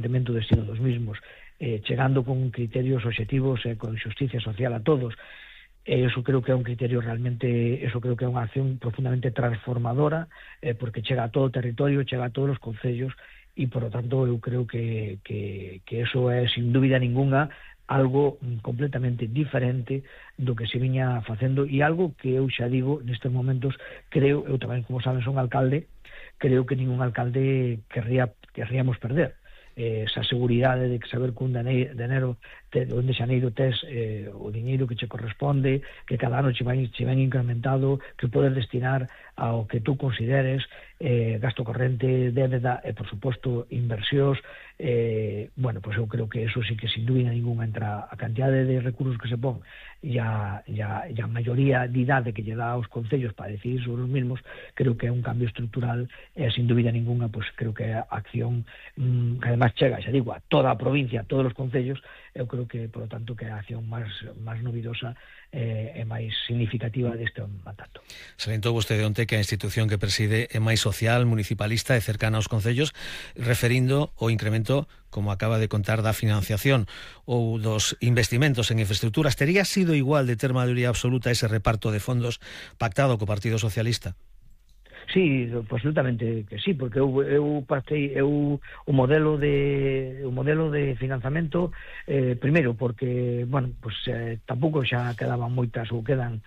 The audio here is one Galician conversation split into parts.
o destino dos mismos, chegando con criterios obxectivos e con xusticia social a todos. Eso creo que é un criterio realmente, eso creo que é unha acción profundamente transformadora, porque chega a todo o territorio, chega a todos os concellos, e por lo tanto eu creo que eso é sin dúbida ninguna algo completamente diferente do que se viña facendo, e algo que eu xa digo nestes momentos, creo, eu tamén, como saben, son alcalde, creo que ningún alcalde querríamos perder esa seguridade de que saber que un de xaneiro tes o diñeiro que che corresponde, que cada ano che ven incrementado, que podes destinar ao que tú consideres, gasto corrente, débeda e, por suposto, inversións. Bueno, pois eu creo que eso sí que sin dúbida ninguna, entre a cantidade de recursos que se pon e a maioría de idade que lle dá aos concellos para decidir sobre os mismos, creo que é un cambio estrutural e sin dúbida ninguna, pois creo que é a acción que además chega, xa digo, a toda a provincia, a todos os concellos. Eu creo que, por lo tanto, que é a acción máis novidosa e máis significativa deste mandato. Salientou vostede onte que a institución que preside é máis social, municipalista e cercana aos concellos, referindo o incremento, como acaba de contar, da financiación ou dos investimentos en infraestructuras. Tería sido igual de ter maioría absoluta ese reparto de fondos pactado co Partido Socialista? Sí, absolutamente que sí, porque eu partei o modelo de financiamento, primeiro porque, bueno, pues tampouco xa quedaban moitas ou quedan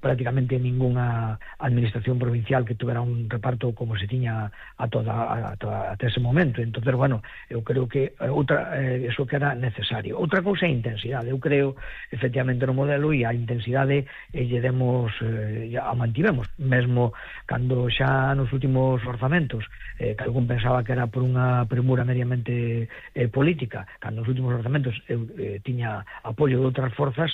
prácticamente ninguna administración provincial que tuvera un reparto como se tiña ata ese momento. Entonces, bueno, eu creo que eso que era necesario. Outra cousa é a intensidade. Eu creo, efectivamente, no modelo, e a intensidade lle demos, a mantivemos, mesmo cando xa nos últimos orzamentos, que algún pensaba que era por unha premura meramente política, cando nos últimos orzamentos eu tiña apoio de outras forzas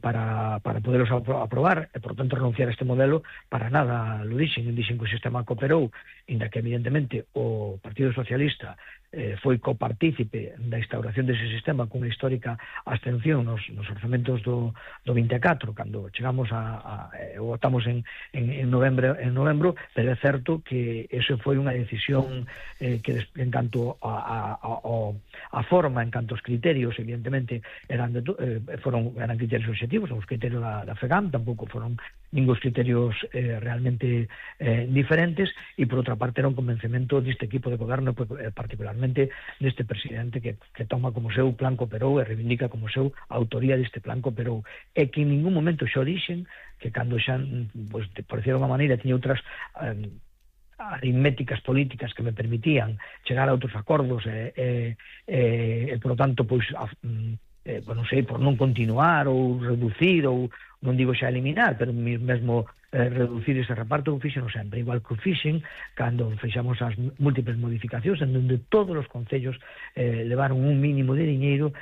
para poderos aprobar, e por tanto renunciar a este modelo, para nada lo dixen que o sistema cooperou, inda que evidentemente o Partido Socialista foi copartícipe da instauración dese sistema cunha histórica abstención nos orzamentos do 24, cando chegamos votamos en novembro, pero é certo que eso foi unha decisión que en canto a forma, en canto aos criterios, evidentemente eran criterios obxectivos, os criterios da FEGAM, tampouco foron ningún criterios realmente diferentes, e por outra parte era un convencemento deste equipo de goberno, particularmente deste presidente que toma como seu plan Cooperou e reivindica como seu a autoría deste plan Cooperou, e que en ningún momento xa dixen que cando xa, pues, por decir de unha maneira, tiña outras aritméticas políticas que me permitían chegar a outros acordos e por lo tanto, pois non sei, por non continuar ou reducir, ou non digo xa eliminar, pero mesmo reducir ese reparto o fixen sempre, igual que o fixen cando fixamos as múltiples modificacións en donde todos os concellos levaron un mínimo de diñeiro,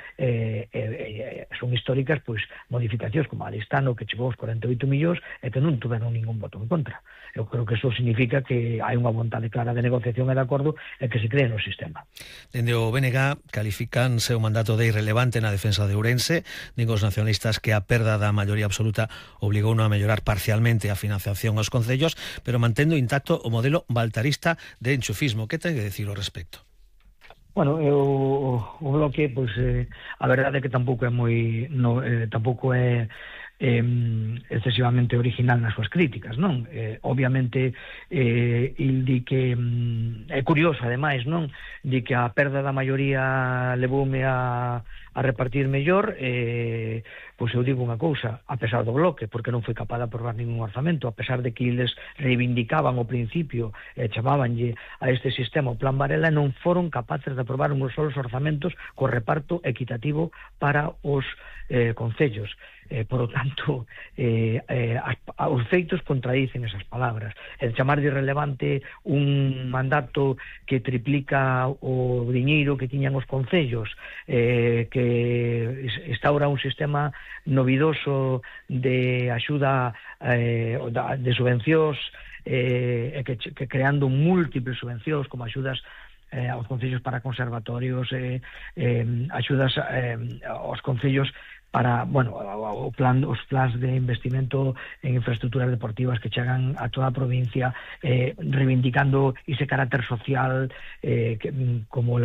son históricas, pois, modificacións como a Listano, que chegou aos 48 millóns e que non tuveron ningún voto en contra. Eu creo que eso significa que hai unha vontade clara de negociación e de acordo e que se cree no sistema. Dende o BNG califican seu mandato de irrelevante na defensa de Ourense, din os nacionalistas que a perda da maioría absoluta obligou a mellorar parcialmente a financiación aos concellos, pero mantendo intacto o modelo baltarista de enchufismo. Que ten que decir ao respecto? Bueno, o bloque, pois, a verdade é que tampouco é excesivamente original nas súas críticas, non? Obviamente, il di que é curioso, ademais, non? Di que a perda da maioría levoume a repartir mellor, pois eu digo unha cousa, a pesar do bloque, porque non foi capaz de aprobar ningún orzamento, a pesar de que eles reivindicaban ao principio, chamábanlle a este sistema o Plan Varela, non foron capaces de aprobar uns solos orzamentos co reparto equitativo para os concellos. Por lo tanto, os feitos contradicen esas palabras. El chamar de irrelevante un mandato que triplica o diñeiro que tiñan os concellos, que instaura un sistema novidoso de axuda de subvencións, que creando múltiples subvencións como axudas aos concellos para conservatorios, axudas aos concellos para, bueno, os plans de investimento en infraestructuras deportivas que chegan a toda a provincia, reivindicando ese carácter social, como levamos